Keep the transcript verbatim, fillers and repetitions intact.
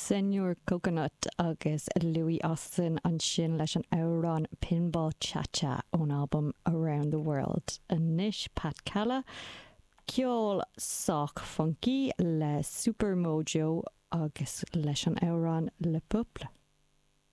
Señor Coconut agus Louie Austin ansin leis an amhrán Pinball Cha-Cha ón album Around the World. Anois Pat Calla, ceol sách funky le Super Mojo agus leis an amhrán Le Peuple.